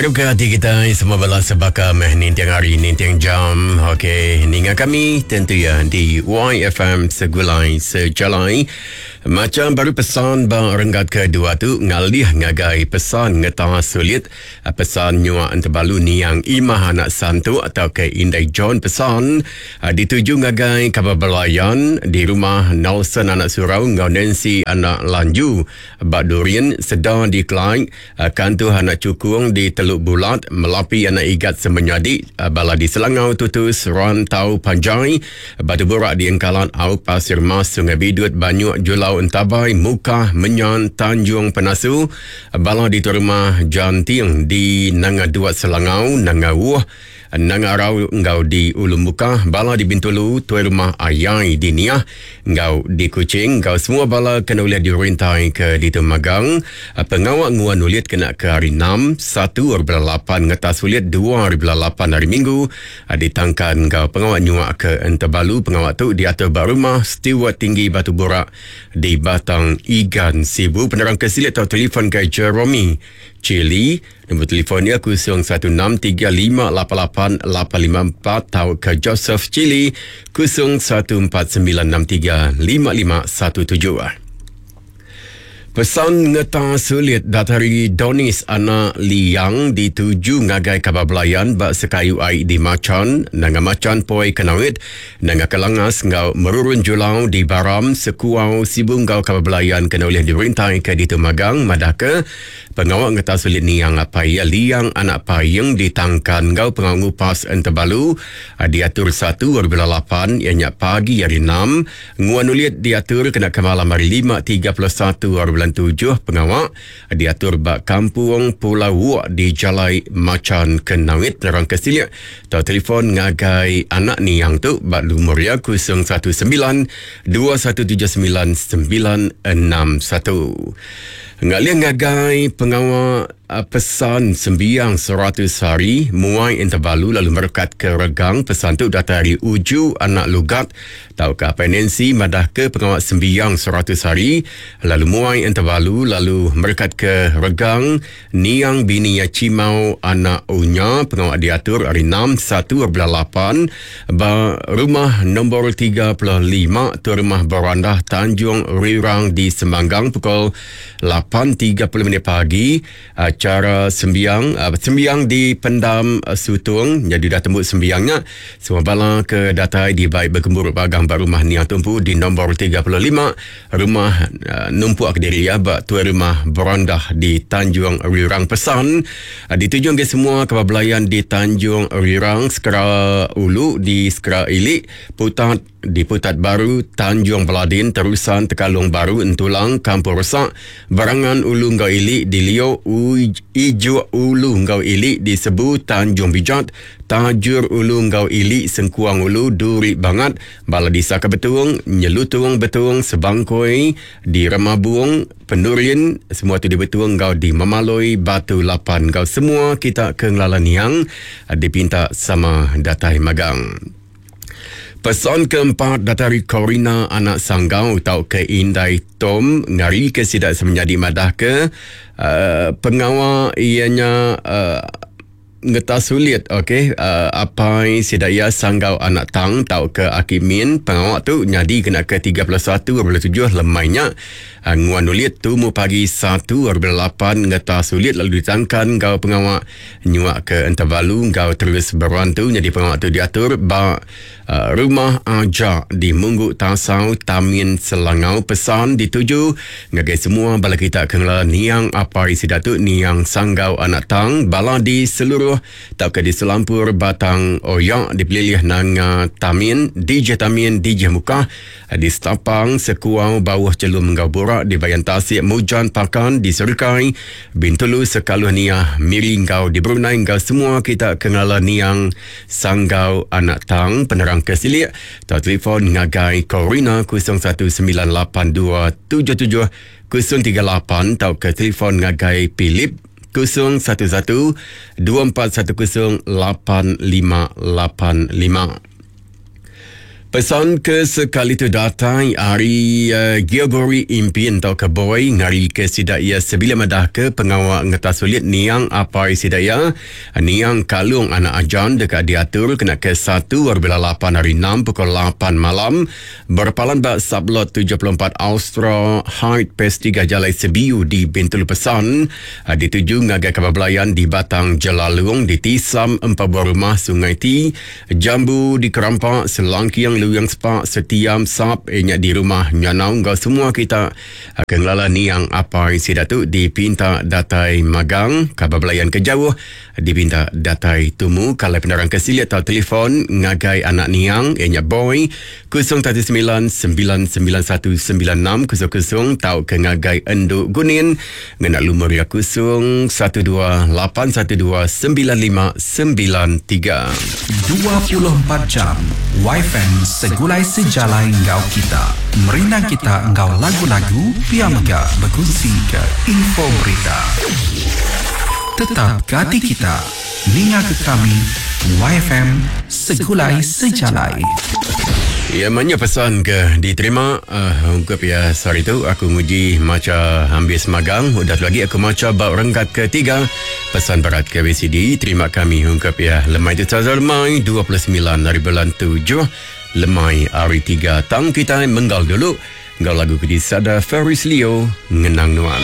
Ngarap ke ati kitai semua bala sebaka meh ninting hari ninting jam. Okey, ninga kami tentu ya di YFM Segulai Sejalai. Macam baru pesan ba renggat kedua tu ngalih ngagai pesan ngeta sulit pesan nyua entebalu niang Imah anak Santu atau ke Indai John pesan dituju ngagai kaban belayan di rumah Nelson anak Surau enggau Nancy anak Lanju ba Durin Seda di Clyde Kantuh anak Chukung di Teluk Bulat, Melapi anak Igat Semenyadi, bala di Selangau Tutus, Rantau Panjai, Batu Burak di Engkalat, Aup Pasir Mas, Sungai Bidut, Banyuk, Julau Entabai, Mukah, Menyan, Tanjung Penasu, bala di Tuai Rumah Janting di Nanga Duat Selangau, Nanga Wuh, Nanga Arau enggau di Ulu Mukah, bala di Bintulu, Tuai Rumah Ayai di Niah enggau di Kuching enggau semua bala ke enda ulih dirintai ke ditu magang. Pengawa nguan ulit kena ke hari enam, satu ari bulan lapan ngetas ulit dua ari bulan lapan hari Minggu ditangkan enggau pengawa nyuak ke Entebalu. Pengawa tu diatur ba Rumah Steward Tinggi Batu Burak di Batang Igan, Sibu. Penerang ke silik tau telefon ke Jeromy Chili. Nombor telefon iya 0163588854 tauka Joseph Chili 0149635517. Pesan ngeta sulit datari Donis anak Liang dituju ngagai kaban belayan ba sekayu ai di Machan, Nanga Machan Poi Kenawit, Nanga Kelangas enggau Merurun Julau di Baram, Sekuau, Sibu enggau kaban belayan kena ulih dirintai ke ditu magang madahka Pengawa ngetas ulit niang apai iya Liang anak Paing ditangkan enggau pengawa ngupas Entebalu diatur satu ari bulan lapan iya nya pagi hari enam. Nguan ulit diatur kena ke malam hari lima 31 ari bulan tujuh. Pengawa diatur ba Kampung Pulau Wok di Jalai Machan Kenawit. Penerang ke silik tau telefon ngagai anak niang tu ba lumur iya 019 2179 961. Ngalih ngagai pengawa pesan sembiang 100 hari muai Entebalu lalu merekat ke regang pesan tu datai ari Uju anak Lugat tauka Apai Nancy madahka pengawa sembiang 100 hari lalu muai Entebalu lalu merekat ke regang Niang bini iya Chimau anak Unya pengawa diatur ari enam satu bulan lapan ba rumah nombor 35 Tuai Rumah Berandah Tanjung Rirang di Semanggang pukul 8.30 minit pagi. Acara sembiang sembiang di Pendam Sutung nyadi udah tembu sembiang nya semua bala ke datai dibai begemburu bagang ba rumah Niang Tumpu di nombor 35 Rumah numpuk kediri iya ba Tuai Rumah Berandah di Tanjung Rirang Pesan dituju ngagai semua kaban belayan di Tanjung Rirang, Sekera Ulu di Sekera Ili, Putat di Putat Baru, Tanjung Beladin, Terusan, Tekalong Baru, Entulang, Kampung Resak, Berangan Ulu enggau Ili di Lio, Ijuk Ulu enggau Ili di Sebu, Tanjung Bijat, Tajur Ulu enggau Ili, Sengkuang Ulu, Duri Bangat, Bala disa ke Betung, Nyelutung Betung, Sebangkoi, di Remabung, Penurin, semua tu di Betung enggau di Memaloi, Batu Lapan enggau semua kita ke ngelala niang dipinta sama datai magang. Pesan keempat datai ari Corina anak Sanggau tauka Indai Tom ngarika sida semenyadi madahka uh, pengawa iya nya uh, Ngeta sulit ok apai sida iya sanggau anak tang tauka aki min pengawa tu nyadi kena ke 31 bulan tujuh lemai nya nguan ulit tumu pagi satu bulan lapan ngeta sulit lalu ditangkan enggau pengawa nyuak ke entebalu enggau terus berantu nyadi pengawa tu diatur ba Rumah Aja di Munggu Tasau, Tamin Selangau pesan dituju ngagai semua bala kita ke ngelala niang apai sida tu niang Sanggau anak Tang bala di seluruh tauka di selampur Batang Oya di pelilih Nanga Tamin, DJ Tamin, DJ Mukah di Stapang, Sekuau, Bauh Chelum enggau Burak di Bayan Tasik, Mujan Pakan di Serikai, Bintulu, Sekaluh Niah, Miri enggau di Brunei enggau semua kita ke ngelala niang Sanggau Anak Tang. Penerang ke silik tau telefon ngagai Corina 0198277038 tauka telefon ngagai Philip 011 2410 8585. Pesan ke sekali tu datai ari uh, Geogori Impin tauka Boy ngari ke sida iya sebilik madah ke pengawa ngetas ulit niang apai sida iya niang Kalung anak Ajan deka diatur kena ke 1 hari bulan 8 hari 6 pukul 8 malam berpalan ba Sublot 74 Austra Height Pes 3 Jalai Sebiu di Bintulu. Pesan uh, dituju ngagai kaban belayan di Batang Jelalung di Tisam Empat Buah Rumah Sungai Ti Jambu di Kerampak, Selangking, Luyang Sepak, Setiam, Sap, iya nya di rumah Nyanau enggau semua kita ke ngelala niang apai sida tu dipinta datai magang. Kaban belayan ke jauh dipinta datai tumu kalai penerang ke silik tau telefon ngagai anak niang iya nya Boy 019 991 9600 tauka ngagai Endu Gunin Ngena lumur iya 0 12 812 9593. 24 jam Yfm segulai sejalai enggau kita. Merindang kita enggau lagu-lagu pia mega bekunsi ke info berita. Tetap ke ati kita ninga ke kami Yfm segulai sejalai. Ya manya pesan ke diterima uh, ungkup ya sehari tu aku nguji macha ambis magang udah tu lagi aku macha ba renggat ketiga pesan berat ke BCD terima kami ungkup ya lemai tu saza lemai 29 hari bulan 7 lemai hari 3 tang kita menggal dulu enggau lagu ke disada Ferris Leo ngenang nuan.